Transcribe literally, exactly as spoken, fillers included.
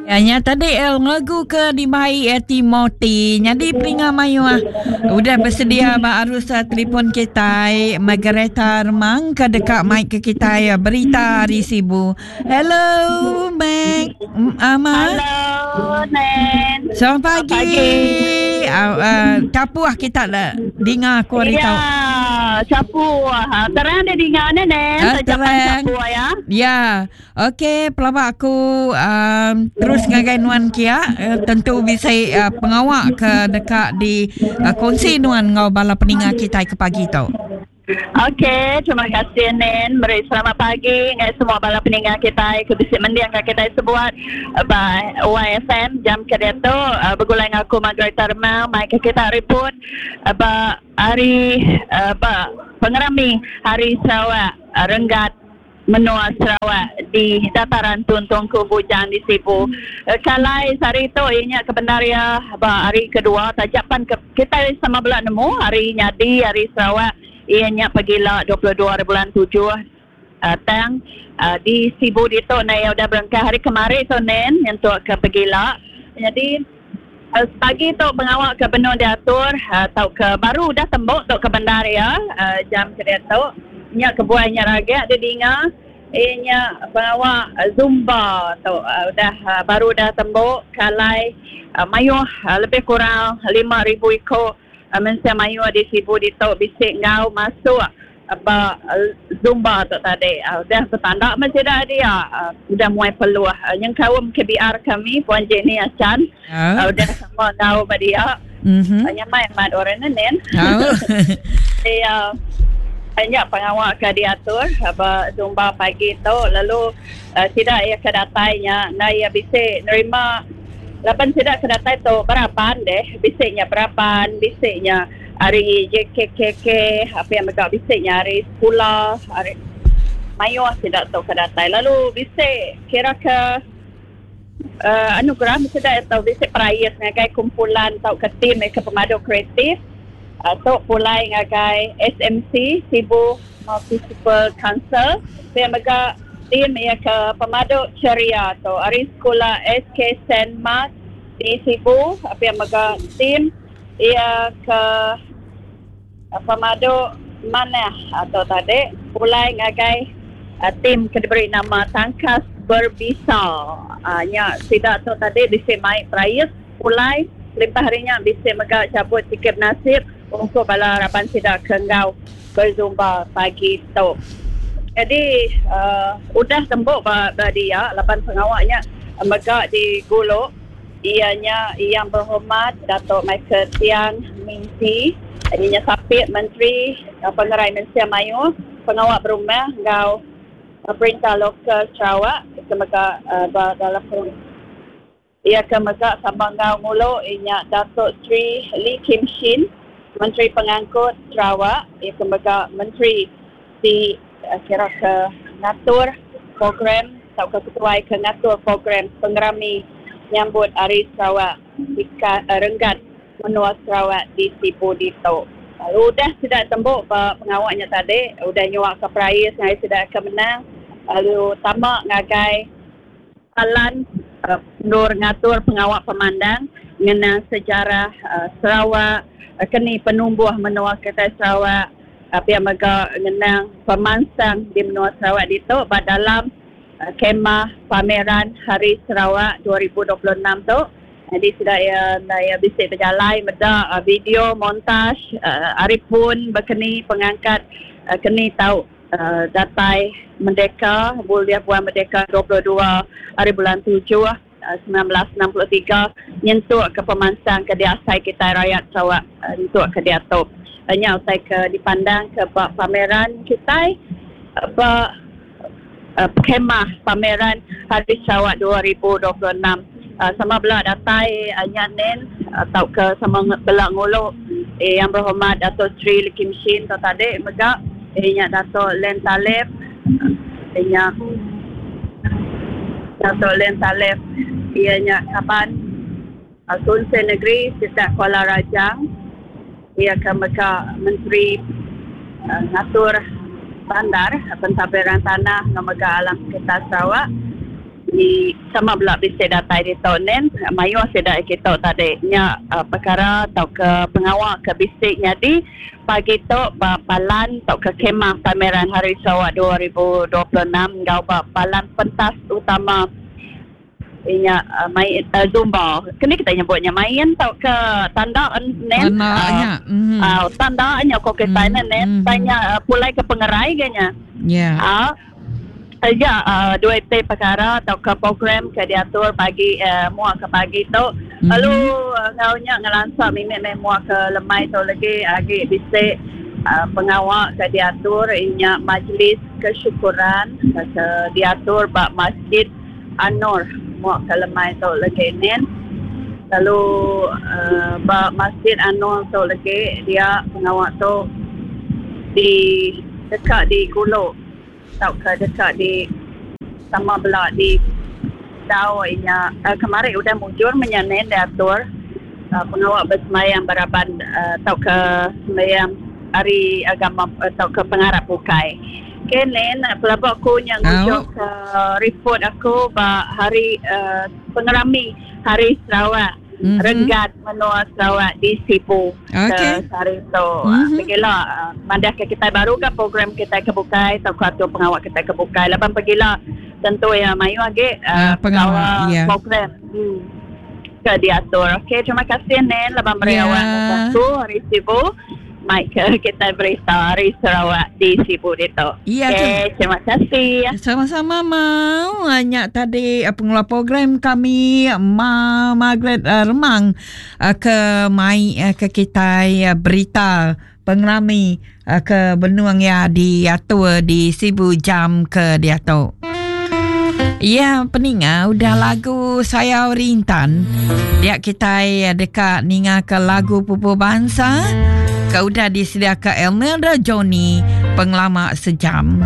Ya, nya tadi eh, lagu ke dibai eh, Timothy. Jadi peninga mayuh udah bersedia ba arus eh, telefon kita Margareta Remang ke dekat mic ke kita ya berita hari Sibu. Hello Meg. Ama. Hello Nen. Selamat pagi. pagi. Uh, uh, capuh kita lah dengar aku hari ya, capuh. Terang dia dengar ni Nen. Ah, terang. Capuh ya. Ya. Okey, pelabak aku um, terus ngagai nuan kia uh, tentu bisa uh, pengawak ke dekat di uh, kongsi nuan ngau bala peninga kita ke pagi tu. Okey, terima kasih Nen. Beri selamat pagi ngai semua bala peninga kita ke bisi mendiang ke kita sebuat by Y F M jam ke dia tu uh, bergulai dengan aku Margareta Remang mai ke kita report uh, ba hari uh, ba pengerami Hari Sarawak uh, Renggat Menua Sarawak di dataran Tun Tuanku Bujang di Sibu. Kalai sehari tu ianya kebenaria ba hari kedua tajapan ke, kita sama belak nemu hari nyadi hari Sarawak ianya pagila dua puluh dua bulan tujuh uh, tang uh, di Sibu di tu na udah berangkat hari kemari tu nen untuk ke pagila. Jadi uh, pagi tu pengawak ke benar diatur uh, tau ke baru dah tembok tu ke bandaria uh, jam ke dia tu. Nya kebuahnya ragak dia dengar ianya pengawak Zumba tu uh, udah uh, baru dah tembok kalai uh, mayuh uh, lebih kurang lima ribu ekor uh, mensia mayuh di Sibu di tu bisik ngau masuk apa uh, Zumba tu tadi uh, udah bertanda masih dah dia uh, udah muai peluh uh, yang kaum K B R kami Puan Jenny Achan uh. Uh, udah sama ngau ba dia mm-hmm. uh, nyamai mat orang nen oh. Dia banyak pengawak ke diatur apa Zumba pagi tu lalu uh, tidak ia kedatainya na ia bisa nerima lapan tidak kedatai tu berapan deh bisiknya berapan bisiknya hari J K K K apa yang mereka bisiknya hari sekolah hari mayuh tidak tu kedatai lalu bisik kira ke uh, anugerah sudah atau bisik perais ngagai kumpulan atau ke tim ke pemadu kreatif atau pulai ngagai S M C Sibu Municipal Council saya mega tim ia ke pemadu ceria tu hari sekolah S K Saint Mark di Sibu apa yang mega tim ia ke pemadu mana atau tadi pulai ngagai uh, tim ke diberi nama Tangkas Berbisa uh, nya sidak tu tadi bisa mai perais pulai limpah harinya bisa mega cabut tiket nasib untuk bala harapan sidak kenggau berzumba pagi tu. Jadi uh, udah tembok ba, ba dia lapan pengawaknya mega di Gulok ianya yang berhormat Datuk Michael Tiang Mingti ianya sapit Menteri uh, Pengerai Mensia Mayuh pengawak berumah ngau uh, Perintah Lokal Sarawak ke mega uh, dalam ia ke mega sama ngau ngulu ianya Datuk Sri Lee Kim Shin Menteri Pengangkut Sarawak ia ke mega Menteri di uh, kira ke ngatur program atau ke ketuai ke ngatur program pengerami nyambut Hari Sarawak di uh, Renggat Menua Sarawak di Sibu Dito. Lalu udah sudah tembok pengawaknya tadi, udah nyuak ke perais ngai sudah ke menang lalu tamak ngagai alan uh, nur ngatur pengawak pemandang mengenang sejarah uh, Sarawak uh, keni penumbuh menua kita Sarawak apa yang mega ngenang pemansang di menua Sarawak itu dalam uh, kemah pameran Hari Sarawak dua ribu dua puluh enam tu. Jadi sudah ya ya bisa berjalan meda uh, video montaj uh, aripun berkeni pengangkat uh, keni tahu uh, datai merdeka bulan bulan merdeka dua puluh dua hari bulan tujuh sembilan belas enam puluh tiga nyentuh ke pemansang ke diasai kita rakyat Sarawak uh, nyentuh ke diatup. Hanya usai ke dipandang ke bak pameran kita bak uh, kemah pameran Hari Sarawak dua ribu dua puluh enam uh, sama belah datai uh, nyanen atau uh, ke sama belah nguluk eh, yang berhormat Dato' Sri Lee Kim Shin tu tadi mega eh, nya Dato' Len Talib eh, nya Dato' Len Talib ianya kaban uh, Kunsi Negeri Sitak Kuala Rajang ia ke mega Menteri uh, Ngatur Bandar Pentadbiran Tanah Ngamega Alam Sekitar Sarawak Di sama bela bisi datai ditu nen mayuh sida kita tadi nya uh, perkara atau ke pengawa ke bisi nyadi pagi tu ba palan atau ke kemah pameran Hari Sarawak dua ribu dua puluh enam ngau ba palan pentas utama inya uh, main uh, Zumba. Kini kita nyebutnya main atau ke tanda nen tanda uh, mm. uh, tanda nya ko kita mm. nen tanya uh, pulai ke pengerai ganya. Ya. Yeah. Uh, Ya, uh, dua T perkara atau ke program ke diatur pagi uh, muak ke pagi tu. Mm-hmm. Lalu uh, ngaunya ngelansa mimik meh muak ke lemai tu lagi agi bisi uh, pengawak ke diatur inya majlis kesyukuran ke diatur ba Masjid Anur muak ke lemai tu lagi nen. Lalu uh, ba Masjid Anur tu lagi dia pengawak tu di dekat di Gulok atau ke dekat di sama bela di tau inya uh, kemarin udah mujur menyanen diatur uh, pengawak bersemayam beraban atau uh, ke semayam hari agama atau ke pengarap bukai. Kenen pelabak aku yang ngujuk ke report aku ba hari uh, pengerami Hari Sarawak. Mm-hmm. Renggat Menua Sarawak di Sibu. Okey. Hari tu. Mm-hmm. Pergilah mandah ke kita baru ke program kita ke bukai atau ke pengawak kita ke bukai. Lepas pergilah tentu ya mayu lagi uh, pengawak uh, yeah. program. Hmm. Ke diatur. Okey, terima kasih Nen lepas meriawan yeah. aku hari Sibu. Mike kita berita Hari Sarawak di Sibu itu. Ya, okay, terima kasih. Sama-sama mau. Banyak tadi pengelola program kami Ma Margaret Remang ke mai ke kita berita pengerami ke benuang ya diatur di Sibu jam ke diatur. Ya, peninga udah lagu Sayau Rintan. Dia kita dekat ninga ke lagu Pupu Bangsa. Kau udah disediakan Elmelda Johnny pengelama sejam.